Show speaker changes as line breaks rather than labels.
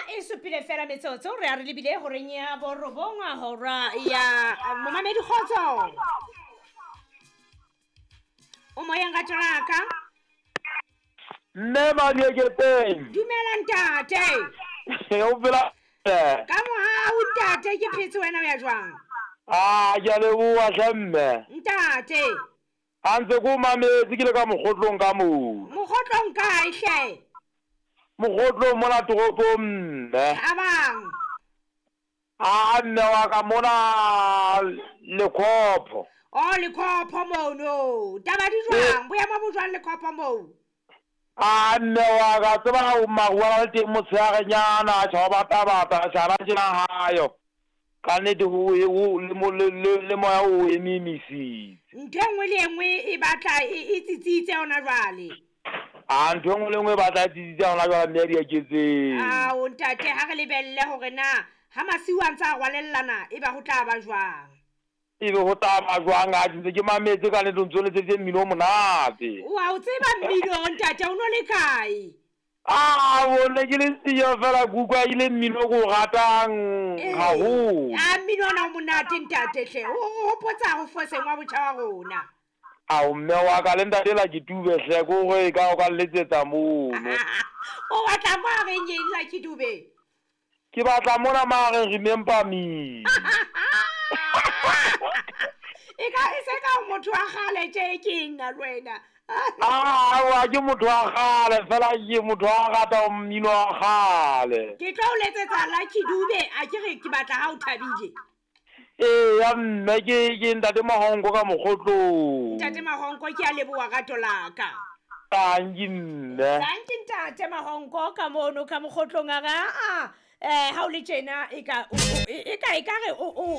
E supile fela metsotso re a re lebile horeng ya borobong hora ya momamedi. Kgotso, o moyeng ka tolaka.
Mme Madieketeng.
Dumela ntate.
O phela?
Ka mohau ntate, ke phetse, wena o ya jwang?
A ke a leboa hle mme.
Ntate.
A ntse ko mametse ke le ka mogotlong ka moo.
Mogotlong kae hle?
Mogotlong mona toropong mme.
Thabang.
A mme wa ka mona Lekhopho.
O Lekhopho mono, taba di jwang? Boemo bo jwang Lekhopho moo?
A mme wa ka, tseba maru a le teng motshearenyana, tjha bata bata tjhana tjena hayo ka nnete le moya o ememisitse.
Ntho e nngwe le e nngwe e batla e tsitsitse hona jwale.
A ntho e nngwe le nngwe e batla e tsitsitse hona jwale mme ya Diaketseng.
Ao ntate, ha re lebelle hore na ha masiu a ntse a rwalellana e ba ho tla ba jwang.
Ebe ho tla ba jwang? A ntse ke mametse ka nnete, o ntso letseditse mmino o monate.
Wa o tseba mmino ntate, o no le kae?
A bone ke le siyo fela, ke utlwa ile mmino o ke o ratang haholo.
A mmino ona o monate ntate hle, o hopotsa ho foseng wa botjha wa rona.
Ao mme wa ka, le ntate la ke tube hle, ke hore ka o ka letsetsa mono.
O batla mo a reng eng Lucky Dube?
Ke batla mona ma reng "Remember Me".
E ka e se ka motho wa kgale tje, ke nna le wena.
Awa, ke motho wa kgale fela, ke motho wa rata mmino wa kgale.
Ke tlo o letsetsa Lucky Dube, a ke re ke batla ha o thabile.
Ee ya mme, ke ntate Mahonko ka Mokgotlong.
Ntate Mahonko, ke a leboha rato laka.
Tanki mme.
Tanki ntate Mahonko ka mono ka Mokgotlong. A re aa, ha o le tjena e ka e ka e ka re o